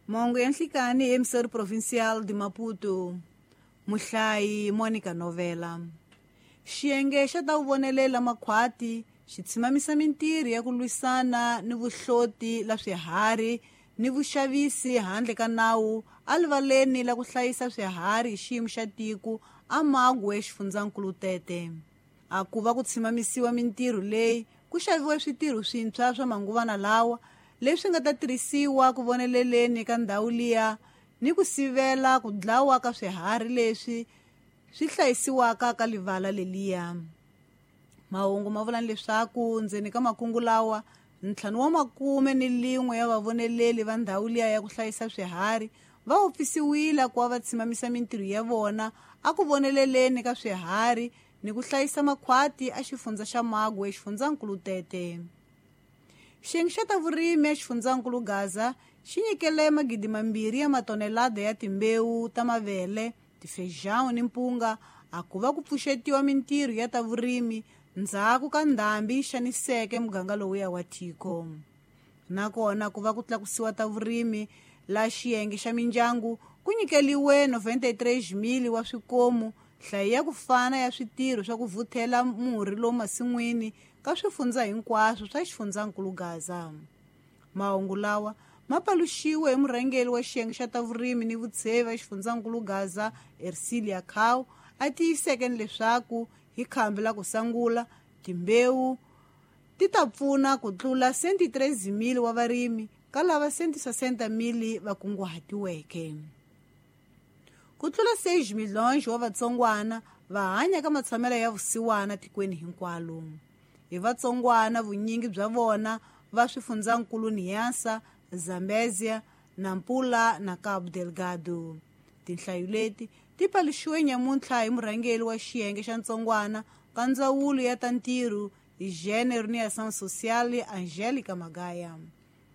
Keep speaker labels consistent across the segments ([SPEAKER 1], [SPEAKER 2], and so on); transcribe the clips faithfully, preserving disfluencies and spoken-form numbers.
[SPEAKER 1] Mahungu ya nhlikani emisori provincial de Maputo. Muhlayi Monica Novela. Xiyenge xa ta vuvonelela makhwati xi tshimamisa mintirho ya ku lwisana ni vuhloti la swiharhi ni vuxavisi handle ka nawu alivaleni la ku hlayisa swiharhi hi xiyimo xa tiko a Magwe xifundzankulu Tete. A ku va ku tshimamisiwa mintirho leyi ku xaviwe switirho swintshwa swa manguvana lawa leswi nga ta tirhisiwa ku voneleleni ka ndhawu liya ni ku sivela ku dlawa ka swiharhi leswi swi hlayisiwaka ka livala leliya. Mahungu ma vula leswaku ndzeni ka makungu lawa ntlhanu wa makume ni lin'we ya vavoneleli va ndhawu liya ya ku hlayisa swiharhi va wupfisiwile ku va va tshimamisa mintirho ya vona a ku voneleleni ka swiharhi ni ku hlayisa makhwati a xifundza xa Magwe xifundzankulu Tete. Xiyenge xa ta vurimi exifundzankulu Gaza xi nyikele magidi mambirhi ya matonelada ya timbewu ta mavele, tifejão ni mpunga a ku va ku pfuxetiwa mintirho ya ta vurimi ndzhaku ka ndhambi yi xaniseke muganga lowuya wa tiko. Nakona ku va ku tlakusiwa ta vurimi la xiyenge xa mindyangu ku nyikeliwe noventa e três mil wa swikomu nhlayo ya ku fana ya switirho swa ku vuthela murhi lomu masin'wini ka swifundza hinkwaswo swa xifundzankulu Gaza. Mahungu lawa ma paluxiwe hi murhangeri wa xiyenge xa ta vurimi ni vutshevi va xifundzankulu Gaza Ercilia Cow a tiyiseke leswaku hi khambi la ku sangula timbewu ti ta pfuna ku tlula cento e treze mil wa varimi ka lava cento e sessenta mil va kunguhatiweke. Ku tlula seis milhões wa vatsongwana va hanya ka matshamelo ya vusiwana tikweni hinkwalo. Hi vatsongwana vunyingi bya vona va swifundzankulu Niassa, Zambezia, Nampula na Cabo Delgado. Tinhlayo leti ti paluxiwe nyamuntlha hi murhangeri wa xiyenge xa ntsongwana ka ndzawulo ya ta ntirho hi Gênero ni Ação Social Angélica Magaya.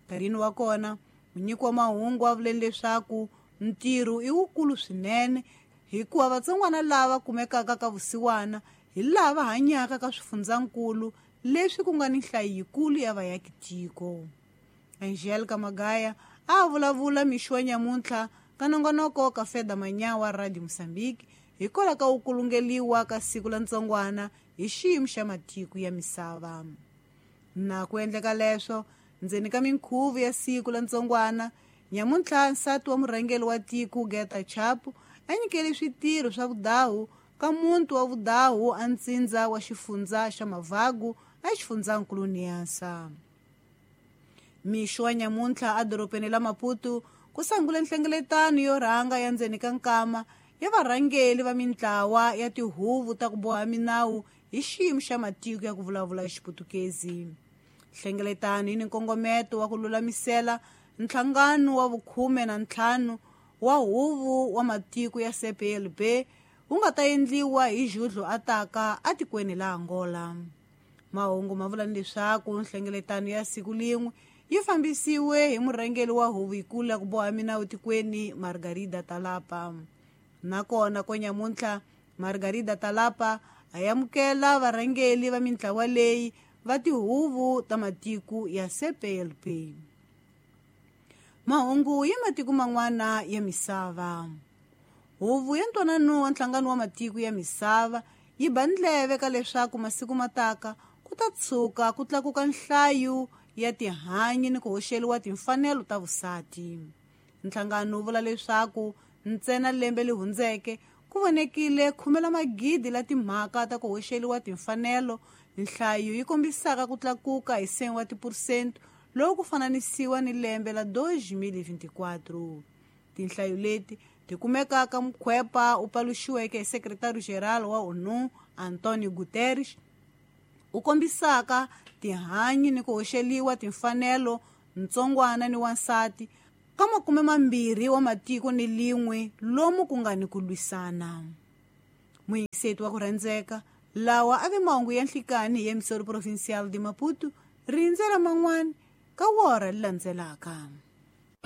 [SPEAKER 1] Nkarhini wa kona munyiki wa mahungu a vuleni leswaku ntirho i wukulu swinene hikuva vatsongwana lava kumekaka ka vusiwana hi lava hanyaka ka swifundzankulu leswi ku nga ni nhlayo yikulu ya vayakitiko. Angélica Magaya a vulavula mixo wa nyamuntlha ka nongonoko ka Feda Manyawa Radio Mozambique hikwalaho ka ku kulungeliwa ka siku la ntsongwana hi xiyimo xa matiko ya misava. Na ku endleka leswo ndzeni ka minkhuvo ya siku la ntsongwana nyamuntlha nsati wa murhangeri wa tiko Geta Chapo a nyikele switirho swa vudahu ka muntu wa vudahu a ntsindza wa xifundza xa Mavagu a xifundzankulu Niassa. Mixo wa nyamuntlha a dorobeni la Maputo ku sangule nhlengeletano yo rhanga ya ndzeni ka nkama ya varhangeri va mintlawa ya tihuvo ta ku boha minawu hi xiyimo xa matiko ya ku vulavula Xiputukezi. Nhlengeletano yi ni nkongometo wa ku lulamisela nhlangano wa vukhume na ntlhanu wa huvo wa matiko ya C P L B wu nga ta endliwa hi Judlo ataka atikweni la Angola. Mahungu ma vula leswaku nhlengeletano ya siku lin'we yi fambisiwe hi murhangeri wa huvo yikulu ya ku boha minawu tikweni Margarida Talapa. Nakona ko nyamuntlha Margarida Talapa a amukela varhangeri va mintlawa leyi va tihuvo ta matiko ya C P L B. Mahungu ya matiko man'wana ya misava. Huvo ya ntwanano wa nhlangano wa matiko ya misava yi ba ndleve ka leswaku masiku mataka ku ta tshuka ku tlakuka nhlayo ya tihanyi ni ku hoxeliwa timfanelo ta vusati. Nhlangano wu vula leswaku ntsena lembe leri hundzeke ku vonekile khume la magidi la timhaka ta ku hoxeliwa timfanelo, nhlayo yi kombisaka ku tlakuka hi cem wa tiphesente loku ku fananisiwa ni lembe la dois mil e vinte e quatro. Tinhlayo leti ti kumekaka mukhwepa u paluxiweke hi secretario-geral wa ONU Antonio Guterres u kombisaka tihanyi ni ku hoxeliwa timfanelo ntsongwana ni wansati ka makume mambirhi wa matiko ni lin'we lomu ku nga ni ku lwisana. Muyingiseti wa ku rhandzeka lawa a ve mahungu ya nhlikani hi emisori provincial de Maputo rindzela man'wana ka wora leri landzelaka.